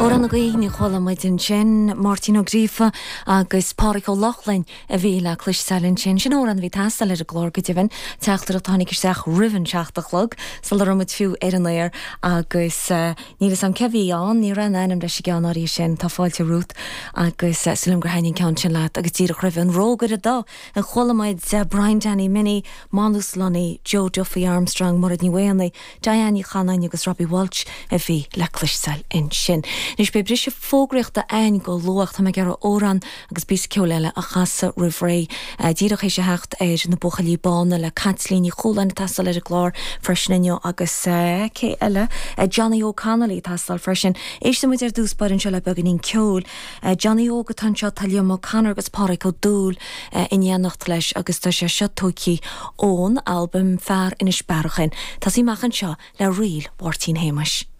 Amhrán na Gaoithe a chuala muid ansin, Máirtín Ó Gríofa agus Pádraic Ó Lochlainn a bhí le cloisteáil ansin. Sin amhrán a bhí ag teastáil ar an gclár go deimhin, teachtaireacht a tháinig isteach roimh an seacht a chlog, sula raibh muid fiú ar an aer agus níl 'fhios a'm cé bhí ann, ní raibh aon ainm leis an gceann áirithe sin, tá fáilte romhat agus súil a'm gur thaitnigh an ceann sin leat agus díreach roimhe an Rógaire Dubh a chuala muid Brian Danny Minnie, Manus Lunny, Joe Duffy Armstrong, Mairéad Ní Mhaonaigh, Diane Ní Chanainn agus Robbie Walsh a bhí le cloisteáil ansin. Anois beidh briseadh fógraíochta a'ainn go luath. Tá mé ag iarraidh amhrán agus píosa ceoil eile a chasadh roimh ré. Díreach théis a theacht ar Na Buachaillí Bána le Caitlín Ní Chualáin ag teastáil ar an gclár freisin inniu agus cé eile? Johnny Óg Connolly ag teastáil freisin. Éistfidh muid ar dtús báire anseo le beagáinín ceoil. Johnny Óg atá anseo, tá Liam O'Connor agus Pádraig Ó Dúill in éineacht leis agus tá sé seo tógtha ón albam Fear Inis Bearachain. Tosaí amach anseo le Ríl Mháirtín Shéamais.